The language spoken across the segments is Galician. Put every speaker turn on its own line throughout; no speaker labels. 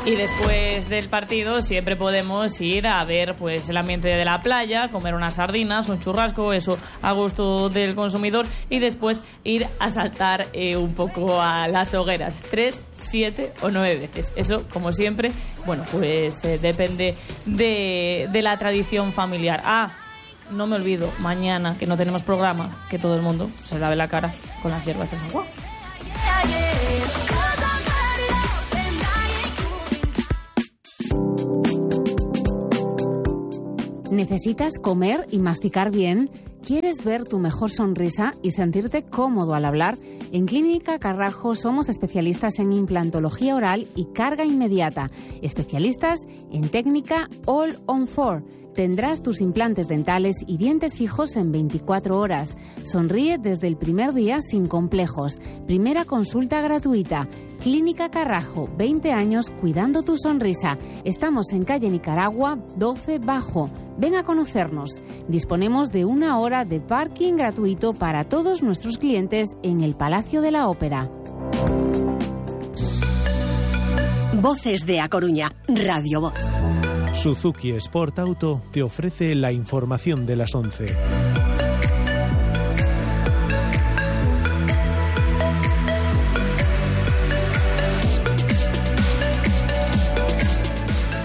Y después del partido siempre podemos ir a ver pues el ambiente de la playa, comer unas sardinas, un churrasco, eso a gusto del consumidor, y después ir a saltar un poco a las hogueras, 3, 7 o 9 veces. Eso, como siempre, bueno, pues depende de la tradición familiar. No me olvido, mañana que no tenemos programa, que todo el mundo se lave la cara con las hierbas de San Juan.
¿Necesitas comer y masticar bien? ¿Quieres ver tu mejor sonrisa y sentirte cómodo al hablar? En Clínica Carrajo somos especialistas en implantología oral y carga inmediata. Especialistas en técnica All on 4. Tendrás tus implantes dentales y dientes fijos en 24 horas. Sonríe desde el primer día sin complejos. Primera consulta gratuita. Clínica Carrajo, 20 años cuidando tu sonrisa. Estamos en calle Nicaragua, 12 Bajo. Ven a conocernos. Disponemos de 1 hora de parking gratuito para todos nuestros clientes en el Palacio de la Ópera.
Voces de A Coruña, Radio Voz.
Suzuki Sport Auto te ofrece la información de las 11.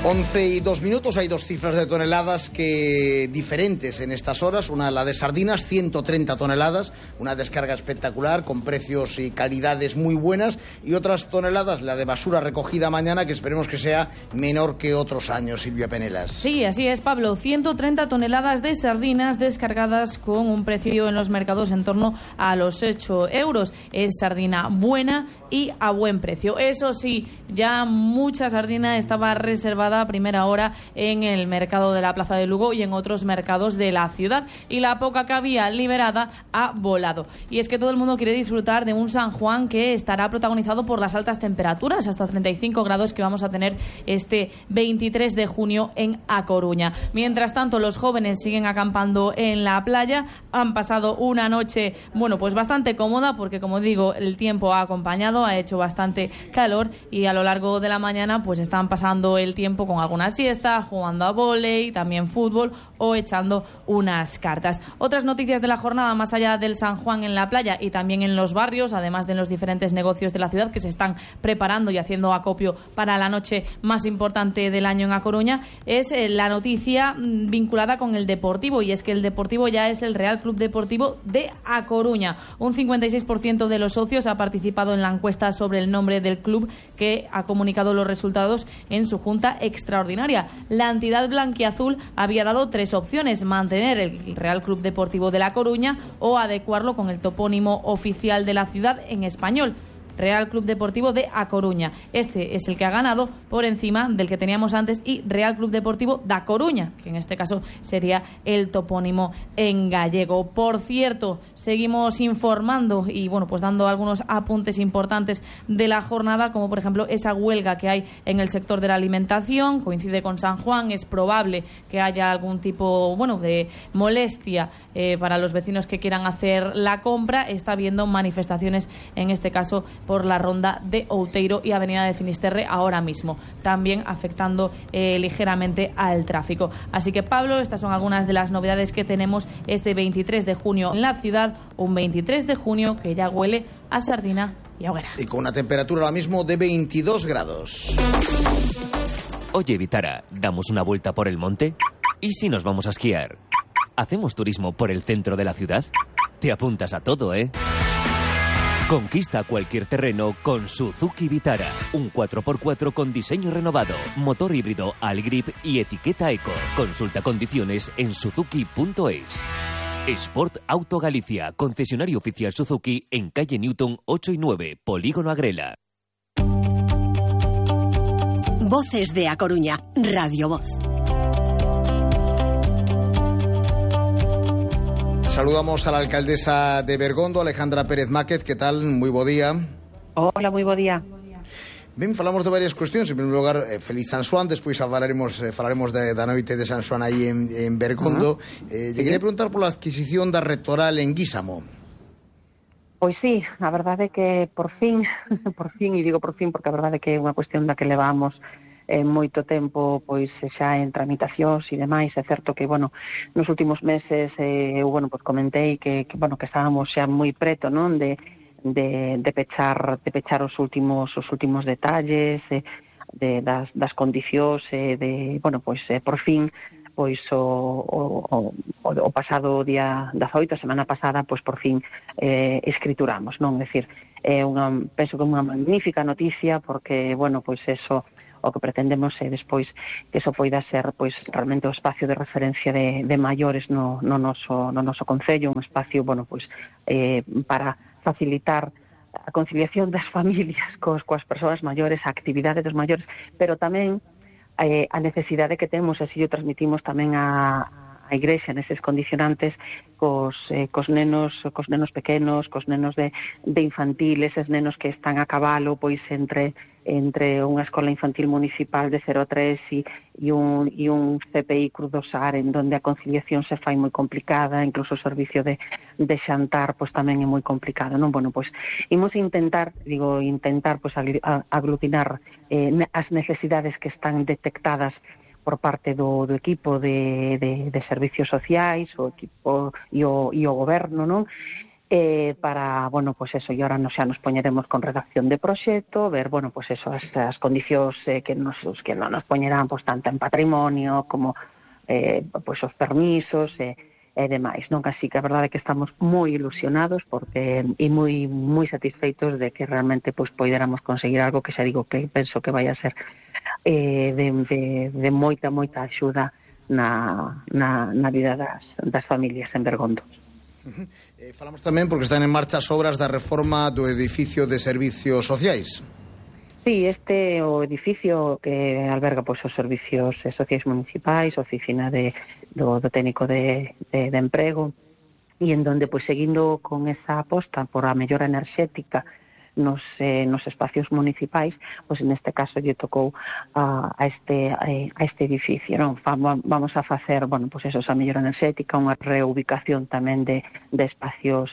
Once y 2 minutos, hay 2 cifras de toneladas que diferentes en estas horas. Una, la de sardinas, 130 toneladas, una descarga espectacular con precios y calidades muy buenas, y otras toneladas, la de basura recogida mañana, que esperemos que sea menor que otros años, Silvia Penelas.
Sí, así es, Pablo, 130 toneladas de sardinas descargadas con un precio en los mercados en torno a los 8 euros. Es sardina buena y a buen precio. Eso sí, ya mucha sardina estaba reservada a primera hora en el mercado de la Plaza de Lugo y en otros mercados de la ciudad, y la poca que había liberada ha volado. Y es que todo el mundo quiere disfrutar de un San Juan que estará protagonizado por las altas temperaturas, hasta 35 grados que vamos a tener este 23 de junio en A Coruña. Mientras tanto, los jóvenes siguen acampando en la playa. Han pasado una noche, bueno, pues bastante cómoda, porque como digo, el tiempo ha acompañado, ha hecho bastante calor, y a lo largo de la mañana pues están pasando el tiempo con alguna siesta, jugando a vóley, también fútbol o echando unas cartas. Otras noticias de la jornada, más allá del San Juan en la playa y también en los barrios, además de los diferentes negocios de la ciudad que se están preparando y haciendo acopio para la noche más importante del año en A Coruña, es la noticia vinculada con el Deportivo, y es que el Deportivo ya es el Real Club Deportivo de A Coruña. Un 56% de los socios ha participado en la encuesta sobre el nombre del club, que ha comunicado los resultados en su junta extraordinaria. La entidad blanquiazul había dado 3 opciones: mantener el Real Club Deportivo de La Coruña o adecuarlo con el topónimo oficial de la ciudad en español, Real Club Deportivo de A Coruña. Este es el que ha ganado por encima del que teníamos antes, y Real Club Deportivo da Coruña, que en este caso sería el topónimo en gallego. Por cierto, seguimos informando y bueno, pues dando algunos apuntes importantes de la jornada, como por ejemplo esa huelga que hay en el sector de la alimentación. Coincide con San Juan, es probable que haya algún tipo, bueno, de molestia para los vecinos que quieran hacer la compra. Está habiendo manifestaciones, en este caso por la ronda de Outeiro y Avenida de Finisterre ahora mismo, también afectando ligeramente al tráfico. Así que, Pablo, estas son algunas de las novedades que tenemos este 23 de junio en la ciudad, un 23 de junio que ya huele a sardina y a hoguera.
Y con una temperatura ahora mismo de 22 grados.
Oye, Vitara, ¿damos una vuelta por el monte? ¿Y si nos vamos a esquiar? ¿Hacemos turismo por el centro de la ciudad? Te apuntas a todo, ¿eh? Conquista cualquier terreno con Suzuki Vitara. Un 4x4 con diseño renovado, motor híbrido Allgrip y etiqueta Eco. Consulta condiciones en suzuki.es. Sport Auto Galicia, concesionario oficial Suzuki en calle Newton 8 y 9, Polígono Agrela.
Voces de A Coruña, Radio Voz.
Saludamos a la alcaldesa de Bergondo, Alejandra Pérez Máquez. ¿Qué tal? Muy bo día.
Hola, moi bo día.
Ben, falamos de varias cuestións. En primeiro lugar, feliz San Xoán. Despois falaremos da noite de San Xoán aí en Bergondo. Lle quería preguntar pola adquisición da rectoral en Guísamo.
Pois sí, a verdade é que por fin, e digo por fin porque a verdade é que é unha cuestión da que levamos moito tempo pois xa en tramitacións e demais. É certo que, bueno, nos últimos meses eu, bueno, pois comentei que estábamos xa moi preto, non, de pechar os últimos detalles das condicións, bueno, pois por fin, pois o pasado día 18, a semana pasada, pois por fin escrituramos, non? É dicir, penso que é unha magnífica noticia, porque, bueno, pois eso, o que pretendemos é despois que eso poida ser, pois, realmente o espacio de referencia de maiores no noso concello, un espacio, bueno, pois para facilitar a conciliación das familias coas persoas maiores, a actividade dos maiores, pero tamén a necesidade que temos, así o transmitimos tamén a Igrexa neses condicionantes cos nenos pequenos, cos nenos de infantil, eses nenos que están a cabalo pois entre unha escola infantil municipal de 0 a 3 e un CPI Cruz do Sar, en donde a conciliación se fai moi complicada, incluso o servicio de xantar pois tamén é moi complicado, non? Bueno, pois imos intentar pois aglutinar as necesidades que están detectadas por parte do equipo de servicios sociais, o equipo e o goberno, non? Para, bueno, pois eso, e ahora xa nos poñeremos con redacción de proxecto, ver, bueno, pois eso, as condicións que non nos poñerán, pois tanto en patrimonio como pois os permisos e demais, non? Así que a verdade é que estamos moi ilusionados porque e moi satisfeitos de que realmente pois poidéramos conseguir algo que xa digo que penso que vai a ser de moita axuda na vida das familias en Bergondo.
Falamos tamén porque están en marcha as obras da reforma do edificio de servicios sociais.
Sí, este o edificio que alberga pois os servicios sociais municipais, oficina do técnico de emprego, e en donde pois seguindo con esa aposta por a mellora enerxética nos espacios municipais, pois neste caso lle tocou a este edificio, non? Vamos a facer, bueno, pois eso, esa mellora enerxética, unha reubicación tamén de espacios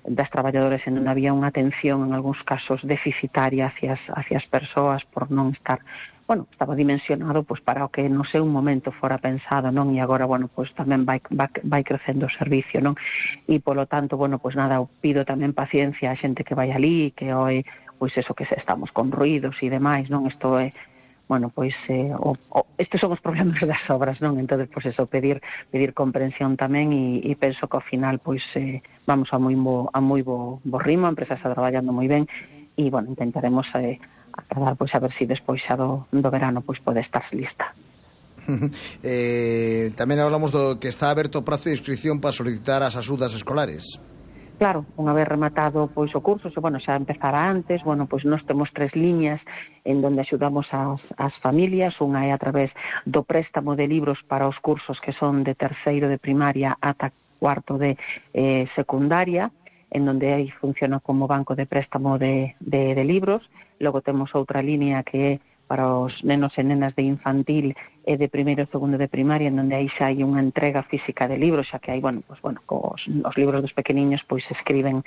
das traballadores en onde había unha atención en algúns casos deficitaria hacia as persoas por non estar, bueno, estaba dimensionado pois para o que no seu momento fora pensado, non? E agora, bueno, pois tamén vai crecendo o servicio, non? E polo tanto, bueno, pois nada, pido tamén paciencia a xente que vai ali, que hoy, pois eso, que estamos con ruidos e demais, non? Isto é, bueno, pois estes son os problemas das obras, non? Entonces, pois eso, pedir comprensión tamén e penso que ao final, pois vamos a moi bo ritmo, a empresa está traballando moi ben e, bueno, intentaremos acadar, pois a ver se despois xa do verano pois pode estar lista.
Tamén hablamos do que está aberto o prazo de inscripción para solicitar as axudas escolares.
Claro, unha vez rematado pois o curso, bueno, xa empezara antes, bueno, pois nós temos 3 liñas en donde axudamos as familias. Unha é a través do préstamo de libros para os cursos que son de terceiro de primaria ata cuarto de secundaria, en donde aí funciona como banco de préstamo de libros. Logo temos outra línea que é para os nenos e nenas de infantil e de primeiro e segundo de primaria, en donde aí xa hai unha entrega física de libros, xa que hai, bueno, pues, bueno, os libros dos pequeniños pois escriben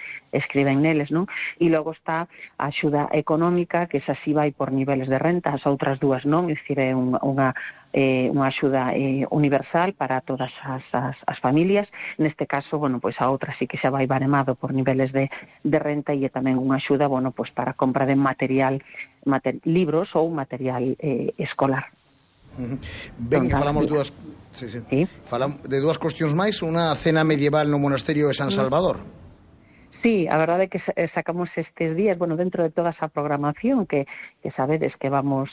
neles, non? E logo está a axuda económica, que esa sí vai por niveles de renta, as outras dúas non, é dicir, é unha axuda universal para todas as familias. Neste caso, bueno, pois a outra sí que xa vai baremado por niveles de renta e é tamén unha axuda, bueno, pois para compra de libros ou material escolar.
Ben, e falamos de dúas cuestións máis. Unha cena medieval no monasterio de San Salvador.
Sí, a verdade é que sacamos estes días, bueno, dentro de toda esa programación que sabedes que vamos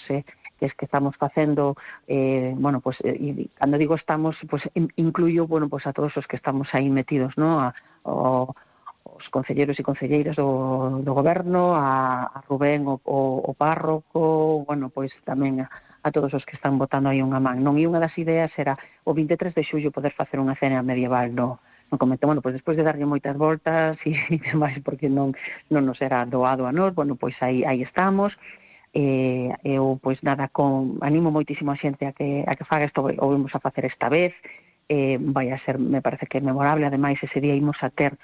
que estamos facendo, bueno, pues cando digo estamos, pues incluyo, bueno, pues a todos os que estamos aí metidos, ¿no? Os concelleiros e concelleiras do goberno, a Rubén, o párroco, bueno, pois tamén a todos os que están botando aí unha man, non? E unha das ideas era o 23 de xullo poder facer unha cena medieval no convento. Bueno, pois despois de darlle moitas voltas e demais, porque non nos era doado a nós, bueno, pois aí estamos. Eu, pois nada, animo moitísimo a xente a que faga isto, o vamos a facer esta vez. Vai a ser, me parece que memorable. Ademais, ese día imos a ter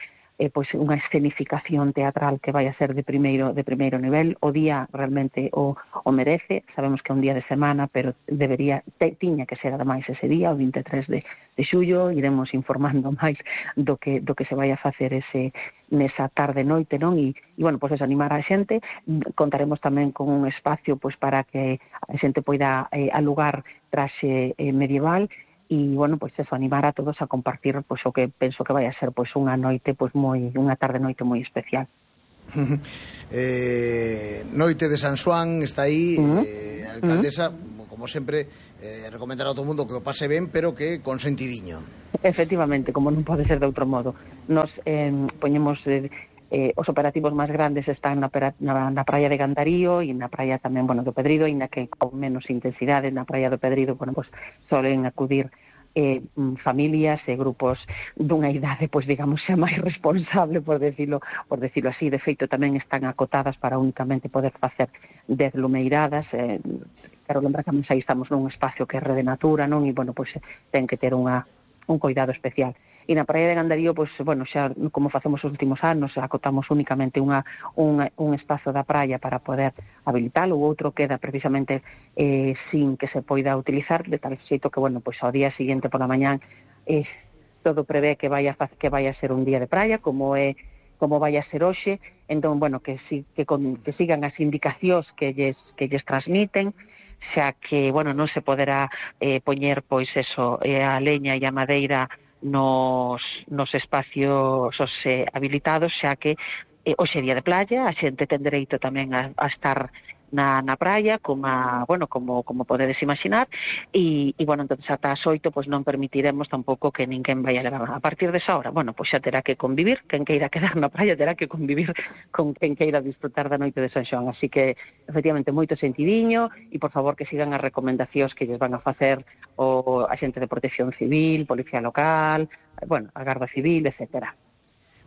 pois unha escenificación teatral que vai a ser de primeiro nivel. O día realmente o merece, sabemos que é un día de semana, pero tiña que ser ademais ese día, o 23 de xullo. Iremos informando máis do que se vai a facer nesa tarde-noite, non? E bueno, pois animar a xente. Contaremos tamén con un espacio pois para que a xente poida alugar traxe medieval. E, bueno, pois eso, animar a todos a compartir pois o que penso que vai a ser pois unha noite, pois unha tarde-noite moi especial.
Noite de San Xoán está aí, a alcaldesa, como sempre, recomendar a todo o mundo que o pase ben, pero que con sentidiño.
Efectivamente, como non pode ser de outro modo. Nos poñemos... os operativos máis grandes están na praia de Gandarío e na praia tamén, bueno, do Pedrido, ainda que con menos intensidade. Na praia do Pedrido, bueno, pues solen acudir familias e grupos dunha idade, pois digamos, xa máis responsable, por decirlo así. De feito, tamén están acotadas para únicamente poder facer 10 lumeiradas. Quero lembrar que aí estamos nun espacio que é Rede Natura, non? E, bueno, pois ten que ter un cuidado especial. E na praia de Gandarío, pois, bueno, xa como facemos os últimos anos, acotamos únicamente un espazo da praia para poder habilitalo. O outro queda precisamente sin que se poida utilizar, de tal xeito que, bueno, pois ao día seguinte pola mañán todo prevé que vai a ser un día de praia, como vai a ser hoxe. Entón, bueno, que sigan as indicacións que lles transmiten, xa que, bueno, non se poderá poñer, pois, eso, a leña e a madeira nos espacios habilitados, xa que hoxe día de playa, a xente ten dereito tamén a estar na praia, como podedes imaginar, e bueno, entonces ata as 8 pois non permitiremos tampouco que ninguén vai a levar. A partir desa hora, bueno, pois xa terá que convivir, quen queira quedar na praia terá que convivir con quen queira disfrutar da noite de San Xoán. Así que, efectivamente, moito sentidiño, e por favor que sigan as recomendacións que lles van a facer a xente de Protección Civil, Policía Local, bueno, a Garda Civil, etcétera.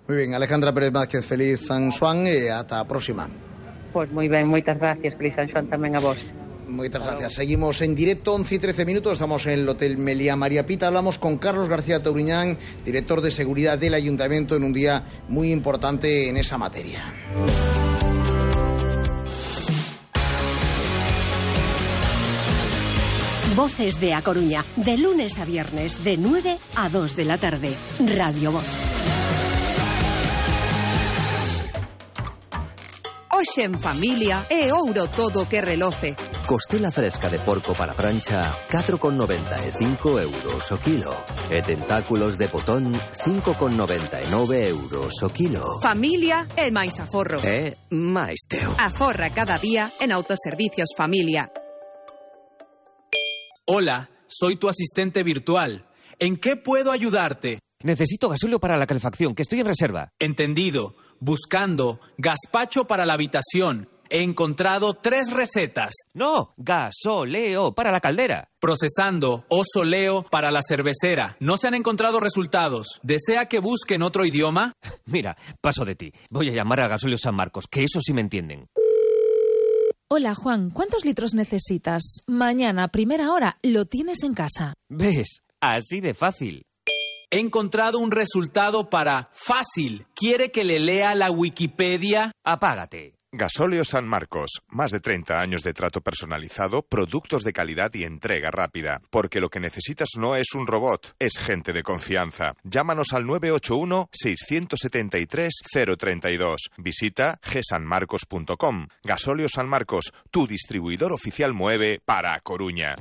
Moi ben, Alejandra Pérez Vázquez, feliz San Xoán e ata a próxima.
Pois moi ben, moitas gracias, feliz San Xoán tamén a vos.
Moitas gracias. Seguimos en directo, 11 y 13 minutos, estamos en el Hotel Meliá María Pita. Hablamos con Carlos García Touriñán, director de seguridad del Ayuntamiento, en un día muy importante en esa materia.
Voces de A Coruña, de lunes a viernes, de 9 a 2 de la tarde. Radio Voz.
Hoxe en familia é ouro todo o que reloce.
Costela fresca de porco para prancha, 4,95 euros o kilo. E tentáculos de botón, 5,99 euros o kilo.
Familia é máis aforro.
É máis teu.
Aforra cada día en Autoservicios Familia.
Hola, soy tu asistente virtual. ¿En qué puedo ayudarte?
Necesito gasóleo para la calefacción, que estoy en reserva.
Entendido. Buscando gazpacho para la habitación. He encontrado 3 recetas.
No, gasoleo para la caldera.
Procesando osoleo para la cervecera. No se han encontrado resultados. ¿Desea que busque en otro idioma?
Mira, paso de ti. Voy a llamar a Gasóleo San Marcos, que eso sí me entienden.
Hola, Juan, ¿cuántos litros necesitas? Mañana, primera hora, lo tienes en casa.
¿Ves? Así de fácil.
He encontrado un resultado para fácil. ¿Quiere que le lea la Wikipedia?
Apágate.
Gasóleo San Marcos. Más de 30 años de trato personalizado, productos de calidad y entrega rápida. Porque lo que necesitas no es un robot, es gente de confianza. Llámanos al 981-673-032. Visita gsanmarcos.com. Gasóleo San Marcos, tu distribuidor oficial Moeve para A Coruña.